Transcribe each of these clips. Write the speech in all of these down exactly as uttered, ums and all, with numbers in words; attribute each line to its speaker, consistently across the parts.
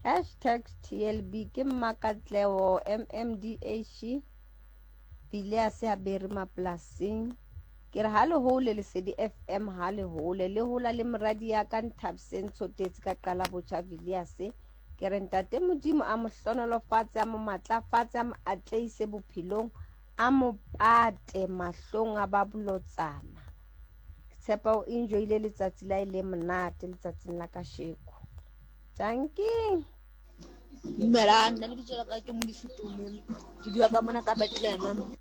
Speaker 1: Hashtag T L B ke Mmakatleho M M D H Phileas Haberi mapolasing. Ke re ha le hole Lesedi F M, ha le hole le hola le moradi ya ka Nthabiseng Tshotetse ka qala botjha Villiers. Ke re ntate Modimo a mo hlonolofatse, a mo matlafatse, a mo atlehise bophelong, a mo pate mahlong a ba bolotsana. Ke tshepa o enjoyile letsatsi la e le monate letsatsing la kasheko. Dankie.
Speaker 2: Dumelang, nna lebitso la ka ke Modise Tume. Ke dula ka mona ka Bethlehem.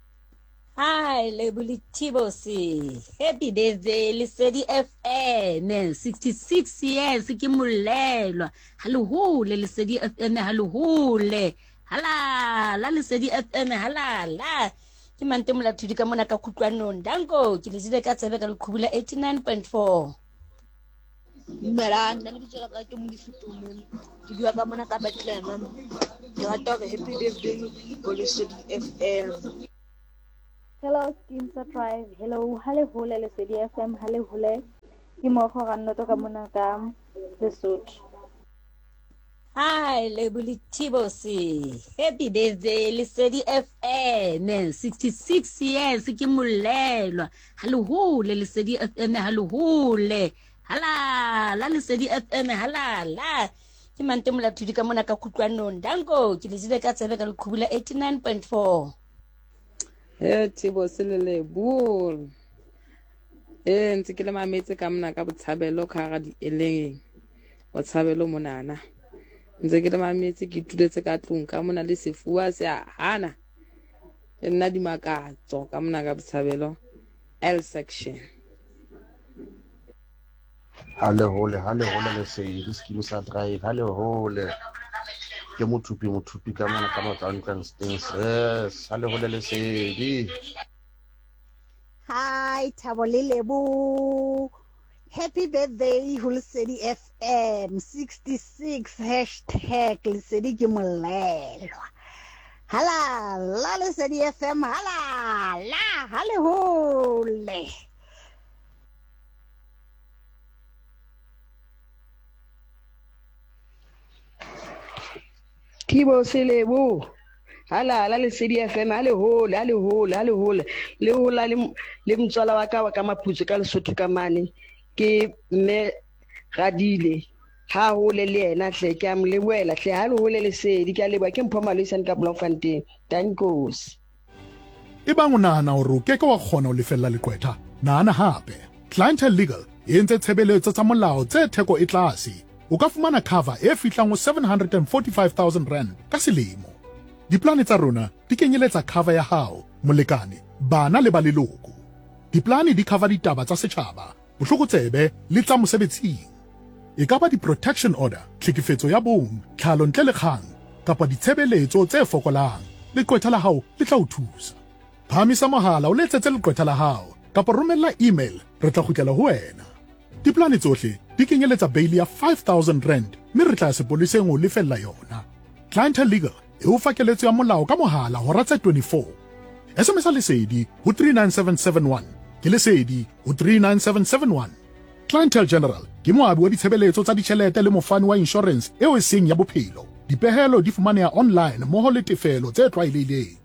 Speaker 3: Hi, Lebo le Thibosi. Happy birthday, Lesedi F M. sixty-six years ke molelwa. Ha le hole Lesedi F M, ha le hole. Hala la Lesedi F M, hala la. Ke Mante Molathudi ka mona ka Kutlwanong. Danko, ke le jele ka tsebe ka leqhubu la eighty-nine point four.
Speaker 2: Dumelang, nna lebitso la ka ke Modise Tume. Ke dula ka mona ka Bethlehem. Ke rata hore happy birthday ho Lesedi F M.
Speaker 4: Hello Skeem Drive. Hello, ha le hole Lesedi F M, ha le hole. Ke mokgo Rannoto ka mona ka Lesotho.
Speaker 3: Hi, Lebo le Thibosi. Happy birthday, Lesedi F M. sixty-six years ke molelwa. Ha le hole Lesedi F M, ha le hole. Hala la Lesedi F M, hala la. Ke Mante Molathudi ka mona ka Kutlwanong. Danko, ke le jele ka tsebe ka leqhubu la eighty-nine point four.
Speaker 5: He Thibo Selele e ntse ke le mametse ka mona ka Botshabelo ka hara dieleng Botshabelo monana, ntse ke le mametse, ke ituletse ka tlung ka mona le sefuwa se a hana le nna Dimakatso ka mona ka Botshabelo L section.
Speaker 6: Ha le hole, ha le hole Lesedi, Skeem sa Drive, ha le hole. Ke Mothupi, Mothupi ka mona ka Matlwantlwang. Yes, ha le hole Lesedi.
Speaker 7: Hi Thabo le Lebo. Happy birthday ho Lesedi F M sixty-six hashtag Lesedi ke molelwa. Hala la Lesedi F M, hala la, ha le hole.
Speaker 8: Thibo Selebo, hala la Lesedi F M, ha le hole, ha le hole, ha le hole le hola le le motswala wa ka wa ka Maphutso ka Lesotho ka mane, ke mme Radile, ha hole le yena hle, ke a mo lebohela hle. Ha le hole Lesedi, ke a leboha. Ke Mpho Maloisane ka Bloemfontein. Dankos.
Speaker 9: Ebang o nahana hore o keke wa kgona ho lefella leqwetha, nahana hape. Clientele Legal e entse tshebeletso tsa molao tse theko e tlase. O ka fumana cover e fihlang ho seven hundred and forty-five thousand rand ka selemo. Diplane tsa rona di kenyeletsa cover ya hao, molekane, bana le ba leloko. Diplane di cover ditaba tsa setjhaba, bohlokotsebe le tsa mosebetsing. E ka ba di-protection order, tlhekefetso ya bong, tlhalo ntle le kgang, kapa ditshebeletso tse fokolang. Leqwetha la hao le tla o thusa. Phahamisa mohala o letsetse leqwetha la hao kapa romella email, re tla kgutlela ho wena. Diplane tsohle di kenyeletsa bail ya five thousand rand mme re tla ya sepoleseng ho lefella yona. Clientele Legal e o fa keletso ya molao ka mohala hora tse twenty-four. S M S Lesedi ho three nine seven seven one. Ke Lesedi ho three nine seven seven one. Clientele General ke moabi wa ditshebeletso tsa ditjhelete le mofani wa insurance eo e seng ya bophelo. Dipehelo di fumaneha online mmoho le tefelo tse tlwaelehileng.